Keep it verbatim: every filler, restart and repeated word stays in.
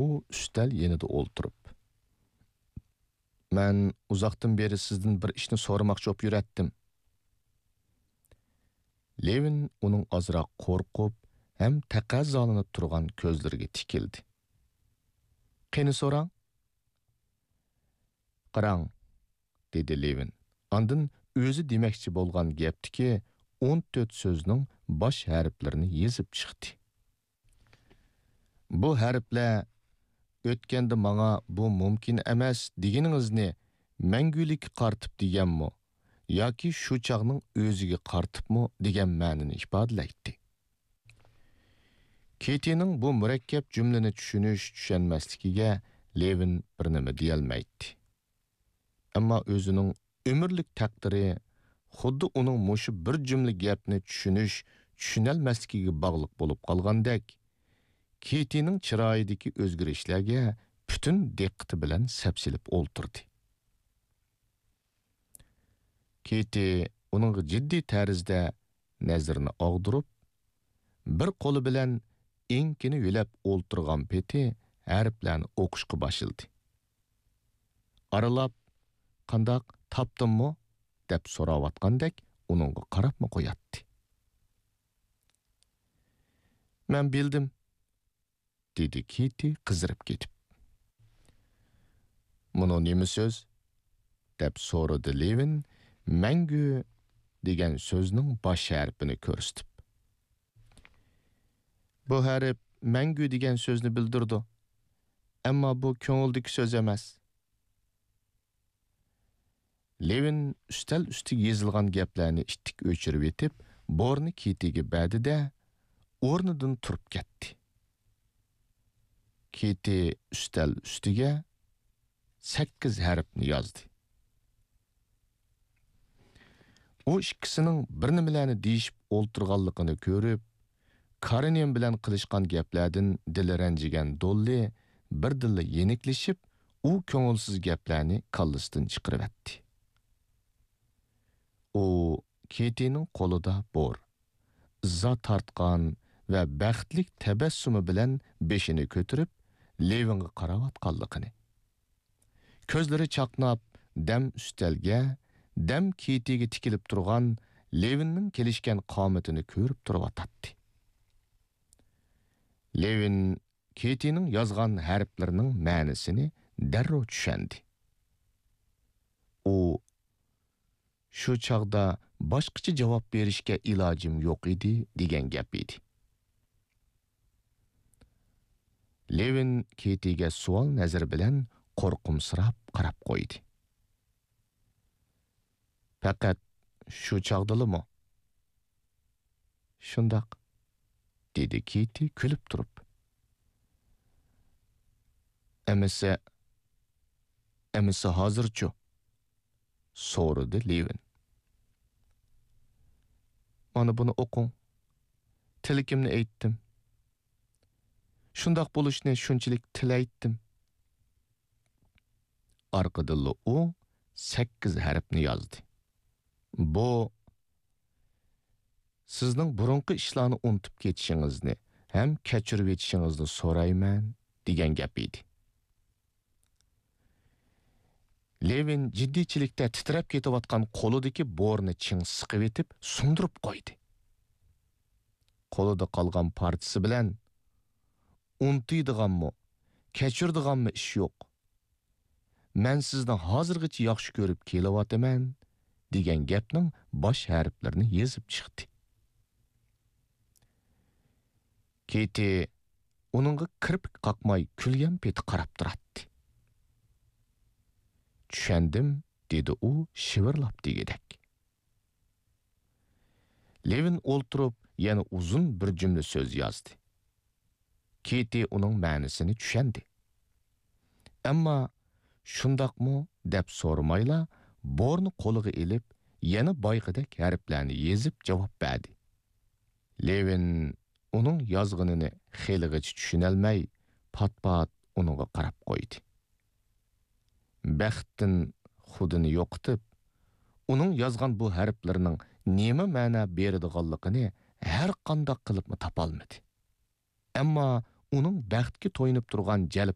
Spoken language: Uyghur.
ئۇ ئۈستەل يېنىدا ئولتۇرۇپ. مەن ئۇزاقتىن بېرى سىزدىن بىر ئىشنى سورىماقچى بولۇپ يۈرەتتىم. لېۋىن ئۇنىڭ ئازراق قورقۇپ ھەم تەقەززالىنىپ تۇرغان كۆزلىرىگە تىكىلدى. قېنى سوراڭ؟ قاراڭ، دېدى لېۋىن. ئاندىن ئۆزى دېمەكچى بولغان گەپتىكى ئون تۆت سۆزنىڭ باش ھەرپلىرىنى يېزىپ چىقتى. بۇ ھەرپلەر «ئۆتكەندە ماڭا بۇ مۇمكىن ئەمەس دېگىنىڭىزنى مەڭگۈلۈككە قارىتىپ دېگەنمۇ ياكى شۇ چاغنىڭ ئۆزىگە قارىتىپمۇ» دېگەن مەنىنى ئىپادىلەيتتى. كېتىنىڭ بۇ مۇرەككەپ جۈملىنى چۈشىنىش-چۈشەنمەسلىكىگە لېۋىن بىر نېمە دېيەلمەيتتى. ئەمما ئۆزىنىڭ ئۆمۈرلۈك تەقدىرى خۇددى ئۇنىڭ مۇشۇ بىر جۈملە گەپنى چۈشىنىش-چۈشىنەلمەسلىكىگە باغلىق بولۇپ قالغاندەك، كېتىنىڭ چىرايىدىكى ئۆزگىرىشلەرگە پۈتۈن دىققىتى بىلەن سەپسېلىپ ئولتۇردى. كېتى ئۇنىڭغا جىددىي تەرزدە نەزىرىنى ئاغدۇرۇپ، بىر قولى بىلەن ئېڭىكىنى يۆلەپ ئولتۇرغان پېتى ھەرپلەرنى ئوقۇشقا باشلىدى. ئارىلاپ، «قانداق، تاپتىڭمۇ؟» دەپ سوراۋاتقاندەك ئۇنىڭغا قاراپمۇ قوياتتى. «مەن بىلدىم»، دېدى كېتى قىزىرىپ كېتىپ. «مۇنۇ نېمە سۆز؟» دەپ سورىدى لېۋىن مەڭگۈ دېگەن سۆزنىڭ باش ھەرپىنى كۆرسىتىپ. «بۇ ھەرپ مەڭگۈ دېگەن سۆزنى بىلدۈرىدۇ. ئەمما بۇ كۆڭۈلدىكى سۆز ئەمەس.» لېۋىن ئۈستەل ئۈستىگە يېزىلغان گەپلەرنى ئىتتىك ئۆچۈرۈۋېتىپ، بورنى كېتىگە بەردى-دە، ئورنىدىن تۇرۇپ كەتتى. كېتى ئۈستەل ئۈستىگە سەككىز ھەرپنى يازدى. ئۇ ئىككىسىنىڭ بىر نېمىلەرنى دېيىشىپ ئولتۇرغانلىقىنى كۆرۈپ، كارېنىن بىلەن قىلىشقان گەپلەردىن دىلى رەنجىگەن دوللى بىردىنلا يېنىكلىشىپ، ئۇ كۆڭۈلسىز گەپلەرنى كاللىسىدىن چىقىرىۋەتتى. ئۇ كېتىنىڭ قولىدا بور، ئىززا تارتقان ۋە بەختلىك تەبەسسۇمى بىلەن بېشىنى كۆتۈرۈپ، لېۋىنغا قاراۋاتقانلىقىنى، كۆزلىرى چاقناپ، دەم ئۈستەلگە، دەم كېتىگە تىكىلىپ تۇرغان لېۋىننىڭ كېلىشكەن قامىتىنى كۆرۈپ تۇرۇۋاتاتتى. لېۋىن كېتىنىڭ يازغان ھەرپلىرىنىڭ مەنىسىنى دەررۇ چۈشەندى. ئۇ، «شۇ چاغدا باشقىچە جاۋاب بېرىشكە ئىلاجىم يوق ئىدى» دېگەن گەپ ئىدى. لېۋىن كېتىگە سوئال نەزىرى بىلەن قورقۇمسىراپ قاراپ قويدى. «پەقەت شۇ چاغدىلىمۇ؟» «شۇنداق»، دېدى كېتى كۈلۈپ تۇرۇپ. «ئەمىسە، ئەمىسە ھازىرچۇ؟» سورىدى لېۋىن. «مانا بۇنى ئوقۇڭ. تىلىكىمنى ئېيتتىم. شۇنداق بولۇشنى شۇنچىلىك تىلەيتتىم.» ئارقىدىنلا ئۇ سەككىز ھەرپنى يازدى. «بۇ، سىزنىڭ بۇرۇنقى ئىشلارنى ئۇنتۇپ كېتىشىڭىزنى ھەم كەچۈرۈۋېتىشىڭىزنى سورايمەن» دېگەن گەپ ئىدى. لېۋىن جىددىيچىلىكتە تىترەپ كېتىۋاتقان قولىدىكى بورنى چىڭ سىقىۋېتىپ سۇندۇرۇپ قويدى. قولىدا قالغان پارچىسى بىلەن، «ئۇنتۇيدىغانمۇ، كەچۈرىدىغانمۇ ئىش يوق. مەن سىزنى ھازىرغىچە ياخشى كۆرۈپ كېلىۋاتىمەن» دېگەن گەپنىڭ باش ھەرپلىرىنى يېزىپ چىقتى. كېتى ئۇنىڭغا كىرپىك قاقماي كۈلگەن پېتى قاراپ تۇراتتى. «چۈشەندىم»، دېدى ئۇ شىۋىرلاپ دېگۈدەك. لېۋىن ئولتۇرۇپ يەنە ئۇزۇن بىر جۈملە سۆز يازدى. كېتى ئۇنىڭ مەنىسىنى چۈشەندى. ئەمما «شۇنداقمۇ؟» دەپ سورىمايلا، بورنى قولىغا ئېلىپ، يەنە بايىقىدەك ھەرپلەرنى يېزىپ جاۋاب بەردى. لېۋىن ئۇنىڭ يازغىنىنى خېلىغىچە چۈشىنەلمەي، پات-پات ئۇنىڭغا قاراپ قويدى. بەختتىن خۇدىنى يوقىتىپ، ئۇنىڭ يازغان بۇ ھەرپلىرىنىڭ نېمە مەنە بېرىدىغانلىقىنى ھەر قانداق قىلىپمۇ تاپالمىدى. ئەمما ئۇنىڭ بەختكە تويۇنۇپ تۇرغان جەلپ